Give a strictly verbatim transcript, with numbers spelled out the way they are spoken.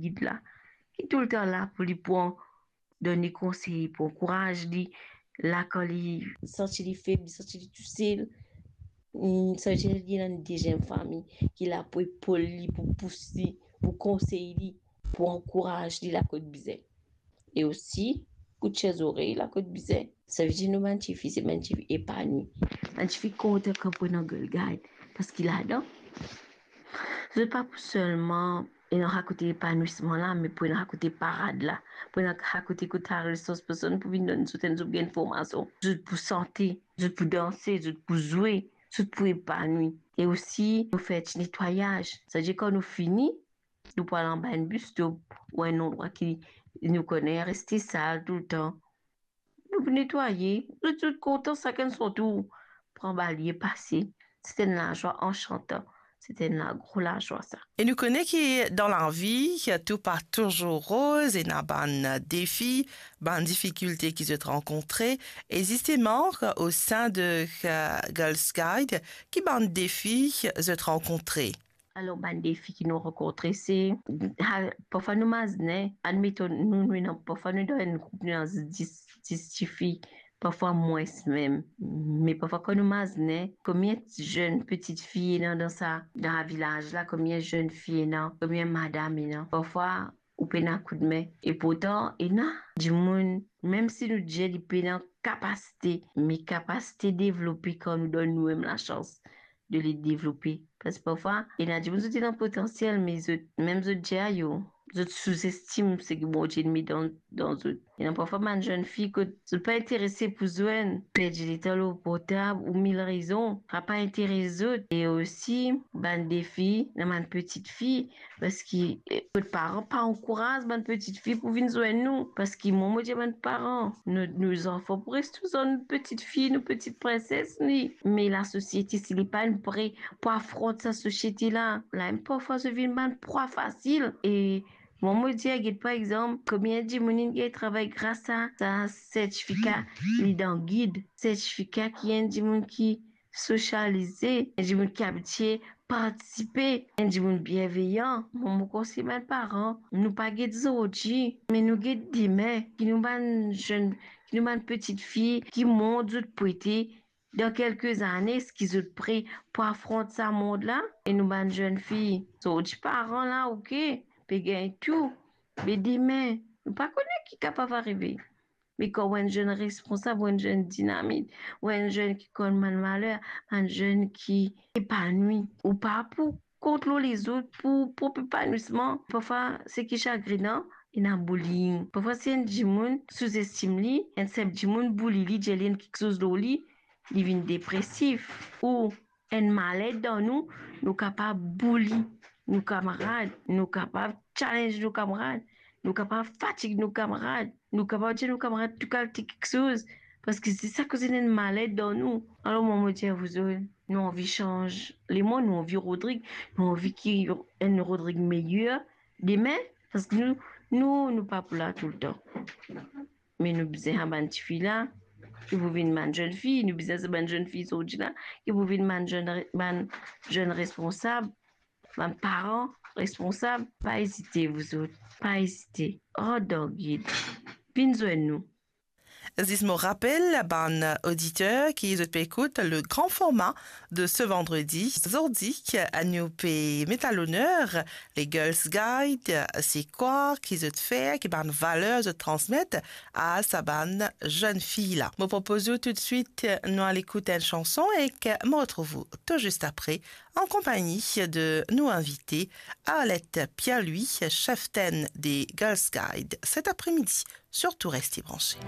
gid la, ki toultan la pou li pran, donn li konsey, pou ankouraz li, la kan li santi li feb, li santi li tousel, mm, savedir li ena enn deziem fami ki la pou epol li, pou pous li, pou konsey li, pou ankouraz li la kot bizin. E osi, kout zorey la kot bizin. Savedir nou bann tifi, se bann tifi epanwi. Bann tifi kontan kan pou ena Girls Guide, parski ladan, zot pa pou selman ena kote epanwisman la, me pou ena kote parad la, pou ena kote kot al resous personn pou vinn donn zot enn zoug enn formasion. Zot pou sante, zot pou danse, zot pou zwe, zot pou epanwi. E osi, nou fer ti netwayaz. Savedir kan nou fini, nou pou al anba enn bus stop ou enn landrwa ki nou kone reste sal toultan. Nou pou netwaye, nou tou kontan, sakenn son tour, pran balie, pase. Se enn lazwa ansantan, se enn gro lazwa sa. E nou kone ki dan lavi, tou pa touzour roz, ena bann defi, bann difikilte ki zot rankontre, e zisteman, o sein de, eh, Girls Guide, ki bann defi zot rankontre? Alor, bann defi ki nou rankontre, se, ha, parfwa nou mazin, admeton, nou, nou ena, parfwa nou dan enn group, nou ena dis, dis tifi, parfwa mwins mem. Me parfwa kan nou mazin, konbien zenn pitit fi ena dan sa, dan sa vilaz la, konbien zenn fi ena, konbien madam ena. Parfwa, ou pena koudme. E pourtan, ena dimoun, mem si nou dir li pena kapasite, me kapasite devlope kan nou donn nou mem lasans de li devlope. Parski parfwa, ena dimoun zot ena potansiel, me zot, mem zot dir, yo, zot souzestim seki Bondie inn met dan, dan zot. Ena parfwa bann zenn fi kot zot pa interese pou zwenn, perdi letan lor portab ou mil rezon, sa pa interes zot. E osi, bann defi, ena bann pitit fi, parski, eh, zot paran pa ankouraz bann pitit fi pou vinn zwenn nou. Parski mwa, mo dir bann paran, nou, nou zanfan pou res toultan nou pitit fi, nou pitit prinses, li. Me lasosiete, si li pa'nn pre pou afront sa sosiete la, la mem parfwa zot vinn bann prwa fasil. E mwa, mo dir, get par exanp, konbien dimoun inn gagn travay gras a sa sertifika li dan gid, sertifika ki enn dimoun ki sosialize, enn dimoun ki abitie partisipe, enn dimoun bienveyan. Mwa, mo konsey bann paran, nou pa get zordi, me nou get dime, ki nou bann zenn, ki nou bann pitit fi, ki mont zot pou ete dan kelke zane, eski zot pre pou afront sa mond la? E nou bann zenn fi, zordi paran la, oke, pe gagn tou, me dime, nou pa kone ki kapav arive. Me kan ou enn zenn responsab, ou enn zenn dinamit, ou enn zenn ki konn bann valer, bann zenn ki epanwi, ou pa pou kont lor lezot pou prop epanwisman. Parfwa, seki sagrenan, ena bullying. Parfwa, si enn dimoun souzestim li, enn sinp dimoun bouli li, dir li enn kiksoz lor li, li vinn depresif. Ou enn maled dan nou, nou kapav bouli nou kamarad, nou kapav challenge nou kamarad, nou kapav fatig nou kamarad, nou kapav dir nou kamarad tou kalite kiksoz, parski se sa koz ena enn maled dan nou. Alor, mwa, mo dir a zot, nou anvi sanz lemond, nou anvi Rodrig, nou anvi ki enn Rodrig meyer dime, parski nou, nou, nou pa pou la toultan. Me nou bizin sa bann tifi la, ki pou vinn bann zenn fi, nou bizin sa bann zenn fi zordi la, ki pou vinn bann zenn re-, bann zenn responsab, bann paran responsab. Pa ezite, zot, pa ezite. Rant dan gid. Vinn zwenn nou. Zis mo rapel bann oditer ki zot pe ekout le grand format de ce vendredi. Zordi, nou pe met a loner le Girls Guide, se kwa ki zot fer, ki bann valer zot transmet a sa bann zenn fi la. Mo propoz ou toutswit nou al ekout enn sanson ek mo retrouv ou tou zis apre an konpagni de nou invite Arlette Pierre-Louis, cheftenn de Girls Guide, cet après-midi. Surtout restez branchés.